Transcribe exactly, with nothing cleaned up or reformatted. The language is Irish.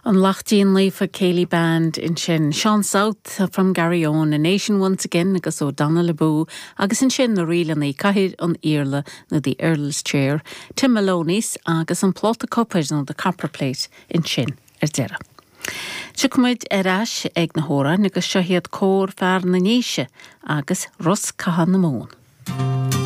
An Laichtín Naofa Céilí Band ansin Sean South from Garryowen, a Nation Once Again agus O'Donnell Abú agus ansin na ríleanna Cathaoir an Iarla nó the Earl's Chair, Tim Maloney's agus an pláta copair nó the copper plate ansin ar deireadh. Tiocfaimid ar ais ag na hamhráin agus seo iad Cór Fear na nDéise agus Rosc Catha na Mumhan.